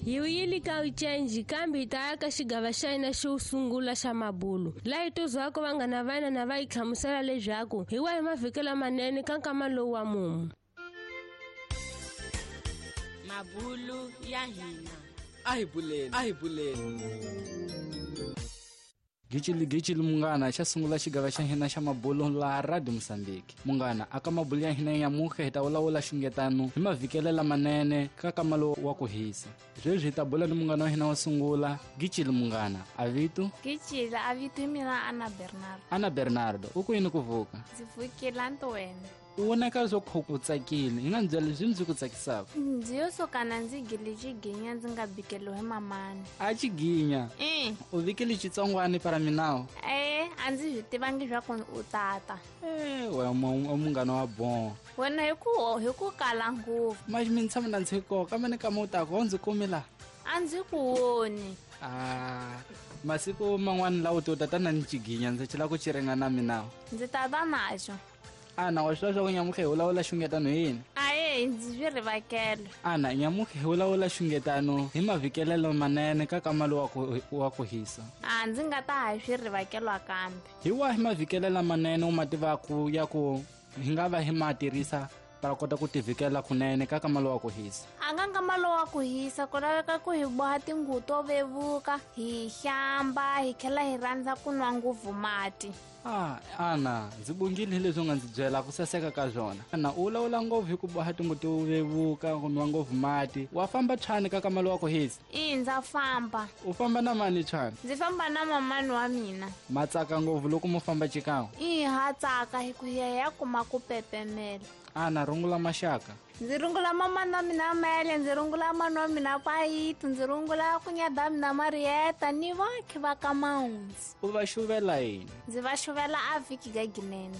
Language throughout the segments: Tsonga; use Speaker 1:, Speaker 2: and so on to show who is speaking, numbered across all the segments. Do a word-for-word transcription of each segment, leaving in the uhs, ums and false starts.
Speaker 1: Hi wuyile ka ucenji kambe hi ta ya ka xigava xa hina xo sungula xa mabulu laha hi tuzwaka vanghana va hina na va hi hlamusela leswaku hi wahi mavhiki lamanene ka nkama lowu wa mumu.
Speaker 2: Mabulu ya hina.
Speaker 3: A hi buleni, a hi buleni. Gicili gicili munghana xa sungula xigava xa hina xa mabulu laha Radio Mozambique. Munghana aka mabulu ya hina nyamutlha hi ta vulavula xungetano hi mavhikele lamanene ka kamalo wa ku hisa. Sweswi hi ta bula ni munghana wa hina wo sungula, Gicili munghana. A vito?
Speaker 4: Gicili, a vito hi mina Ana Bernardo.
Speaker 3: Ana Bernardo, u ku yini ku vuka?
Speaker 4: Ndzi vukile ntwena.
Speaker 3: U vonaka swo ku u tsakile, hi nga ndzi byela leswi ndzi ku tsakisaka.
Speaker 4: Ndzi yo suka na ndzi gile xiginya ndzi nga bikeliwi hi mamani.
Speaker 3: A xiginya?
Speaker 4: I.
Speaker 3: U vikile xitsongwani para minawo?
Speaker 4: E, a ndzi swi tivangi swa ku u tata.
Speaker 3: E, we munghana wa bon.
Speaker 4: Wena hi ku hi ku kala ngopfu.
Speaker 3: Maxi mi ni tshama na ndzi koka, kambe ni kama u taka wo ndzi kumi laha.
Speaker 4: A ndzi ku voni.
Speaker 3: Ah, masiku man'wani lawa u tata na ni xiginya ndzi chela ku xi ringana na minawo.
Speaker 4: Ndzi tata naxo.
Speaker 3: Ana wa swi tiva swa ku nyamutlha hi vulavula xungetano hi yini?
Speaker 4: Aye, ndzi swi rivakele.
Speaker 3: Ana nyamutlha hi vulavula xungetano hi mavhikelelo manene ka kamalo wa ku wa ku hisa.
Speaker 4: A ndzi nga ta ha swi rivakelwa kambe.
Speaker 3: Hi wahi mavhikele lamanene u ma tivaku ya ku hi nga va hi ma tirhisa para kota ku tivhikela kunene ka kamalo wa ku hisa?
Speaker 4: A nga nkamalo wa ku hisa ku laveka ku hi boha tinguvu to vevuka, hi hlamba, hi tlhela hi rhandza ku nwa ngopfu mati.
Speaker 3: Ah, Ana, ndzi bongile hi leswi u nga ndzi byela ku saseka ka swona. Ana, u vulavula ngopfu hi ku boha tinguvu to vevuka, ku nwa ngopfu mati. Wa famba tshwani ka kamalo wa ku hisa?
Speaker 4: I, ndza famba.
Speaker 3: U famba na mani tshwani?
Speaker 4: Ndzi famba na mamani wa mina.
Speaker 3: Ma tsaka ngopfu loko mo famba xikan'we?
Speaker 4: I, ha tsaka hi ku hi ya hi ya kuma ku pepemela.
Speaker 3: Ana, rungula maxaka.
Speaker 4: Ndzi rungula mamani wa mina Mele, ndzi rungula mani wa mina Payito, ndzi rungula kunyada mina Marieta ni vakhi va ka Mahundzi.
Speaker 3: U va xuvela yini?
Speaker 4: Ndzi va xuvela a vhiki ga ginene.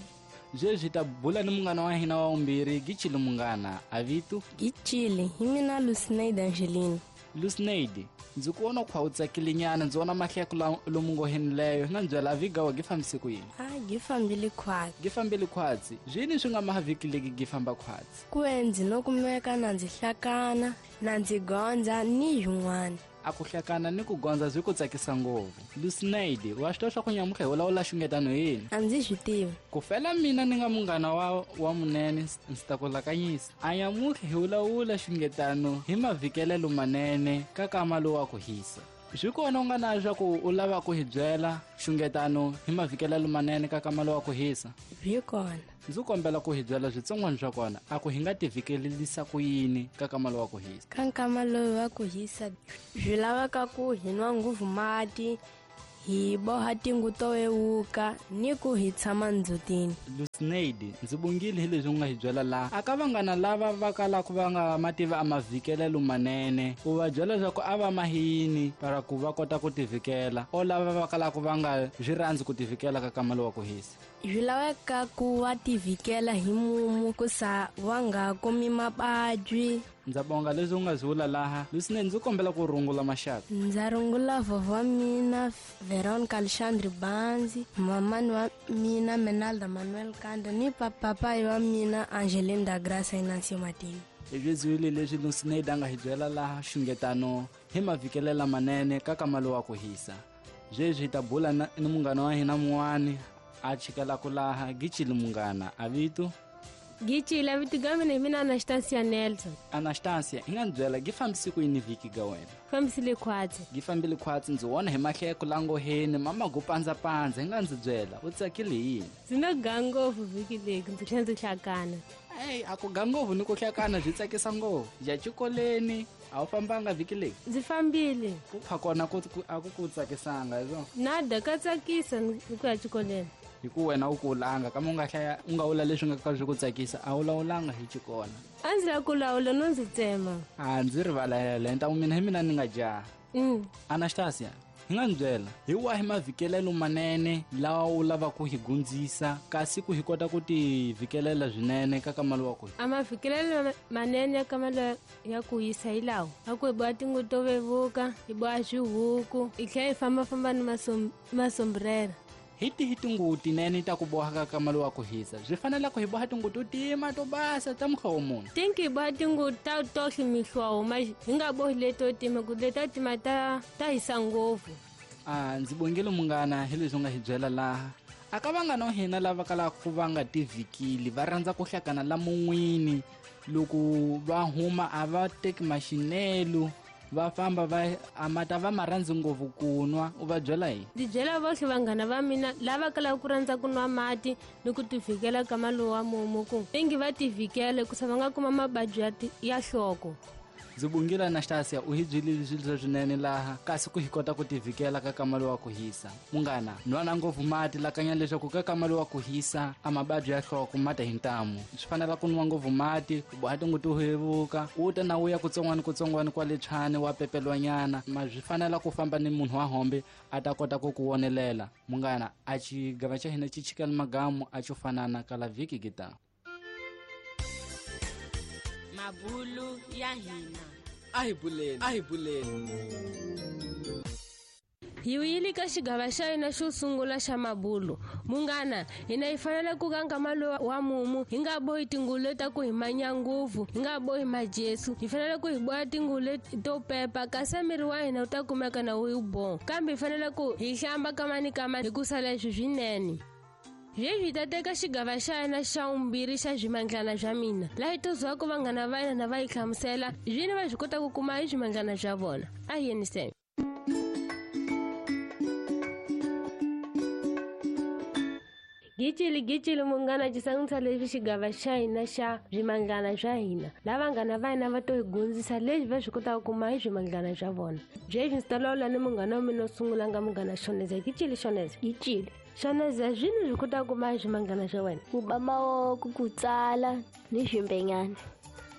Speaker 3: Sweswi hi ta bula ni munghana wa hina wa vumbirhi, Gicili munghana. A vito?
Speaker 5: Gicili, hi mina Lucineide Angelina.
Speaker 3: Lucineide, ndzi ku vona khwa u tsakile nyana, ndzi vona mahleko lomu ngo henileyo. Hi nga ndzi byela vhiki wa gi fambise ku yini?
Speaker 5: A gi fambile khwatsi.
Speaker 3: Gi fambile khwatsi. Zwini swi nga maha vhiki leki gi famba khwatsi?
Speaker 5: Ku ndzi no kumeka na ndzi hlakana, na ndzi gondza ni yin'wana.
Speaker 3: A ku hlakana ni ku gondza swi ku tsakisa ngopfu. Lucineide, wa swi tiva swa ku nyamutlha hi vulavula xungetano hi yini?
Speaker 5: A ndzi swi tivi.
Speaker 3: Ku fela mina ni nga munghana wa wa munene ndzi ta ku lakanyisa. A nyamutlha hi vulavula xungetano hi mavhikelelo manene ka kamalo wa ku hisa. Swi kona u nga na swa ku u lava ku hi byela xungetano hi mavhikelelo manene ka kamalo wa ku hisa?
Speaker 5: Swi kona.
Speaker 3: Ndzi kombela ku hi byela switsongwana swa kona, a ku hi nga tivhikelelisa ku yini ka kamalo wa ku hisa?
Speaker 5: Ka nkamalo wa ku hisa swi laveka ku hi nwa ngopfu mati, hi boha tinguvu to vevuka ni ku hi tshama ndzhutini.
Speaker 3: Lucineide, ndzi bongile hi leswi u nga hi byela laha. A ka vanghana lava va kalaka va nga ma tivi a mavhikelelo manene, u va byela leswaku a va mahini para ku va kota ku tivhikela, o lava va kalaka va nga swi rhandzi ku tivhikela ka kamalo wa ku hisa?
Speaker 5: Swi laveka ku va tivhikela hi mumu ku sa va nga kumi mavabyi.
Speaker 3: Ndza bonga leswi u nga swi vula laha. Lucineide, ndzi kombela ku rungula maxaka.
Speaker 5: Ndza rungula vovho wa mina Veronica Alexandre Banzi, mamani wa mina Menalda Manuel Kanda ni papayi wa mina Angeline da Graça Inancio Matini.
Speaker 3: Hi swi zwile leswi Lucineide a nga hi byela laha xungetano hi mavhikele lamanene ka kamalo wa ku hisa. Sweswi hi ta bula ni munghana wa hina mun'wani a chikelaka laha, Gicili munghana. A vito?
Speaker 1: Gicili, a vito ga mina hi mina Anastasia Nelson.
Speaker 3: Anastasia, hi nga ndzi byela gi fambise ku yini vhiki ga wena?
Speaker 1: Fambisile khwatsi.
Speaker 3: Gi fambile khwatsi, ndzi vona hi mahleko langoheni, mama go pandzapandza. Hi nga ndzi byela u tsakile hi yini?
Speaker 1: Ndzi no ga ngopfu vhiki leki, ndzi tlhela ndzi hlakana.
Speaker 3: Ey, a ku ga ngopfu ni ku hlakana swi tsakisa ngopfu. Ya xikoleni a wu fambanga vhiki leki?
Speaker 1: Ndzi fambile.
Speaker 3: Ku pha kona ku a ku ku tsakisanga hi swona?
Speaker 1: Nada, ka tsakisa ni ku ya xikoleni.
Speaker 3: Hi ku wena u kulanga kambe u nga hlaya u nga vula leswi nga ka swi ku tsakisa, a wu lawulanga hi xikona.
Speaker 1: A ndzi lava ku lawula no ndzi tsema.
Speaker 3: A ndzi rivalela, ntamu mina hi mina ni nga jaha.
Speaker 1: Mm.
Speaker 3: Anastasia, hi nga ndzi byela hi wahi mavhikelelo manene lawa u lavaka ku hi gundzisa kasi ku hi kota ku tivhikelela swinene ka kamalo wa ku?
Speaker 1: A mavhikelelo manene ya kamalo ya ku hisa hi lawa: a ku hi boha tinguvu to vevuka, hi boha swihuku, hi tlhela hi fambafamba ni masombrera.
Speaker 3: Hi tihi tinguvu tinene ta ku boha ka kama lowa ku hisa? Byi fanele ku hi boha tinguvu to tima to basa ta muhlovo muni?
Speaker 1: Tinki hi boha tinguvu ta tohle mihlovo, ma hi nga bohi leto tima ku leta tima ta ta hisa ngopfu.
Speaker 3: A ndzi bongile munghana hi leswi u nga hi byela laha. A ka vanghana wa hina lava kalaka ku va nga tivikili, va rhandza ku hlakana la mun'wini. Loko va huma a va teki maxinelo, va famba va a mata va ma rhandzi ngopfu ku nwa. U va byela yini?
Speaker 1: Ndzi byela vohle vanghana va mina lava kalaka ku rhandza ku nwa mati ni ku tivikela ka malowu wa mumu ku ingi va tivikele ku sa va nga kuma mabadi ya ya nhloko.
Speaker 3: Ndzi bongile Anastasia, u hi byelile swilo swinene laha kasi ku hi kota ku tivikela ka kama lowa ku hisa. Munghana, nwana ngopfu mati lakanya leswaku ka kama lowa ku hisa a mabadi ya nhloko mata hi ntamu. Swi fanela ku nwa ngopfu mati, ku boha tinguvu to hevuka, u ta na u ya kutsongwana kutsongwana kwale tshwane wa pepelwanyana. Ma swi fanela ku famba ni munhu wa hombe a ta kota ku ku wonelela. Munghana, a xigava xa hina xi chikela magamu a xo fanana kala vhiki kita.
Speaker 2: Mabulu ya hina.
Speaker 3: A hi buleni, a hi buleni.
Speaker 1: Hi wile ka xigava xa hina xo sungula xa mabulu. Munghana, hina hi fanele ku kanga malowa wa mumu, hi nga bohi tinguvu leti ku hi manya ngopfu, hi nga bohi majesu. Hi fanele ku hi boha tinguvu leti to pepa kasi miri wa hina wu ta kumeka na wu boha. Kambe hi fanele ku hi hlamba kama ni kama hikusa leswi swinene. Sweswi hi ta teka xigava xa hina xa vumbirhi xa swimandlana swa mina, laha hi tozwaka vanghana va hina va hi hlamusela swini va swi kotaka ku kuma hi swimandlana swa vona. A hi yeniseni. Gicili gicili munghana, xi sangisa leswi xigava xa hina xa swimandlana swa hina. Lava vanghana va hina va to hi gundzisa leswi va swi kotaka ku kuma hi swimandlana swa vona. Sweswi ndzi ta lawula ni munghana wa mina wo sungula nga munghana Shoneza. Gicili Shoneza.
Speaker 6: Gicili.
Speaker 1: Shoneza, swini swi kotaka ku kuma hi swimandlana swa wena?
Speaker 6: Ku ba mavoko, ku tsala ni swimbenyana.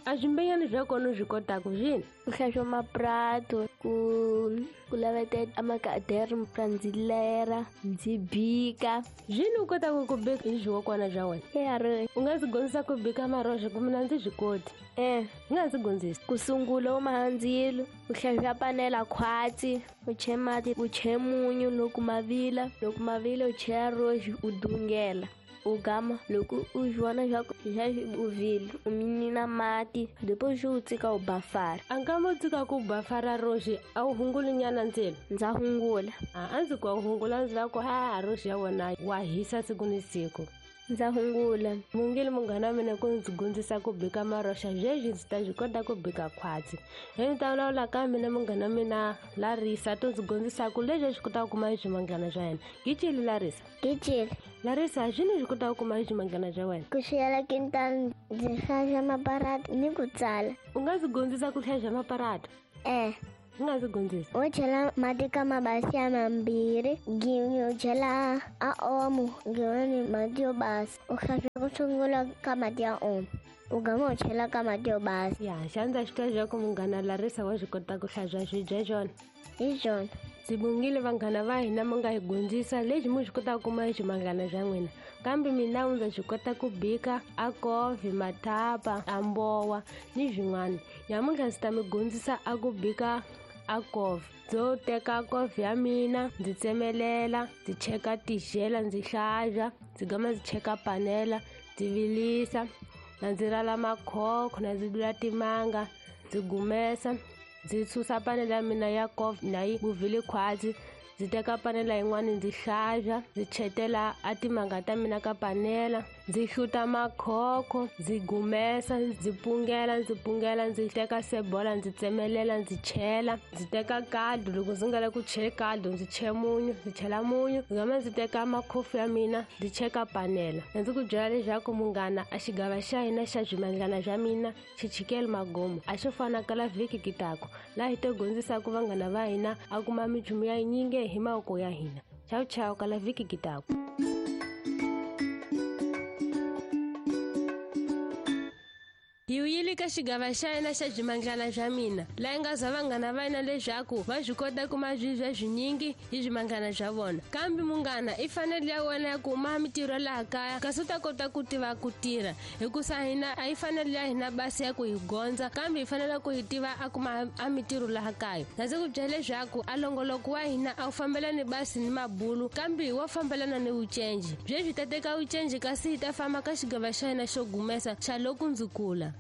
Speaker 1: A swimbenyana swa kona u swi kotaka swini?
Speaker 6: Ku hlantswa mapurato, ku ku lavetela amakadere, ndzi lera, ndzi bika.
Speaker 1: Swini u kotaka ku bika hi swiwokwana swa wena?
Speaker 6: Eya.
Speaker 1: U nga ndzi dyondzisa ku bika maroxa ku mina ndzi swi koti?
Speaker 6: Eh.
Speaker 1: U nga ndzi dyondzisa?
Speaker 6: Ku sungula u maha ndzilo, u hlantswa panela khwatsi, u che mati, u che munyu loko ma vila, loko ma vila u chela roxi u dungela. U gama loko u vona swa ku xa u vile, u minina mati, depois u tshika u bafara.
Speaker 1: A nkama u tshika ku bafara roxi a wu hunguli nyana ndzilo?
Speaker 6: Ndza hungula.
Speaker 1: A a ndzi ku a wu hungula, ndzi lava ku ha roxi ya wena wa hisa siku ni siku.
Speaker 6: Ndza hungula.
Speaker 1: Mungile munghana wa mina ku ndzi dyondzisa ku bika maroxa, sweswi ndzi ta swi kota ku bika khwatsi. Hi ndzi ta vulavula ka mina munghana wa mina Larisa, to ndzi dyondzisa ku leswi swi kotaka ku kuma hi swimandlana swa yena. Gicili Larisa.
Speaker 7: Gicili.
Speaker 1: Larisa, swini swi kotaka ku kuma hi swimandlana swa wena?
Speaker 7: Ku xiyela kintani, ndzi hlantswa maparata ni ku tsala.
Speaker 1: U nga ndzi dyondzisa ku hlantswa maparata?
Speaker 7: Eh.
Speaker 1: U nga ndzi dyondzisa?
Speaker 7: U chela mati ka mabasi ya mambirhi, gin'we u chela a omo, gin'wani mati yo basa. U hlantswa ku sungula ka mati ya omo, u gama u chela ka mati yo basa.
Speaker 1: Ya, xa ndza swi twa leswaku munghana Larisa wa swi kota ku hlantswa swibye swona.
Speaker 7: Hi swona.
Speaker 1: Ndzi bongile vanghana va hina mi nga hi dyondzisa leswi mi swi kotaka ku kuma hi swimandlana swa n'wina. Kambe mina ndza swi kota ku bika a kofi, mathapa, a mbowa ni swin'wana. Nyamuntlha ndzi ta mi dyondzisa a ku bika a kofi. Ndzo teka kofi ya mina, ndzi tsemelela, ndzi cheka tixela, ndzi hlantswa, ndzi gama ndzi cheka panela, ndzi vilisa, na ndzi rala makhokho, na ndzi dula timanga, ndzi gumesa, ndzi susa panela ya mina ya kofi na yi vuvile khwatsi. Ndzi teka panela yin'wana ndzi hlantswa, ndzi chetela a timanga ta mina ka panela, ndzi hluta makhokho, ndzi gumesa, ndzi pungela, ndzi pungela, ndzi teka sebola, ndzi tsemelela, ndzi chela, ndzi teka caldo. Loko ndzi nga lavi ku chela caldo, ndzi chela munyu, ndzi chela munyu, ndzi gama ndzi teka makhofu ya mina, ndzi cheka panela. Na ndzi ku byela leswaku munghana, a xigava xa hina xa swimandlana swa mina xi chikele magomo, a xo fana kala vhiki kitako, laha hi to dyondzisaka vanghana va hina a kuma minchumu ya yinyingi hi mavoko ya hina. Chau chau kala vhiki kitako. Hi wuyile ka xigava xa yena xa byimanglana bya mina laha yi nga za vanghana va yena leswaku va swi kota kuma swibya swinyingi hi byimanglana bya vona. Kambe munghana i fanele ya wena ya kuma mitirho laha kaya kasi u ta kota ku tiva ku tirha, hikusa hina a yi fanele ya hina basi ya ku hi gondza, kambe hi fanele ku hi tiva a kuma a mitirho laha kaya. Na ndzi ku byela leswaku a longoloko wa hina a wu fambelani basi ni mabulu, kambe wa fambelana ni vucenji. Byebyi ta teka vucenji kasi hi ta famba ka xigava xa hina xo gumesa xa loko ndzi kula.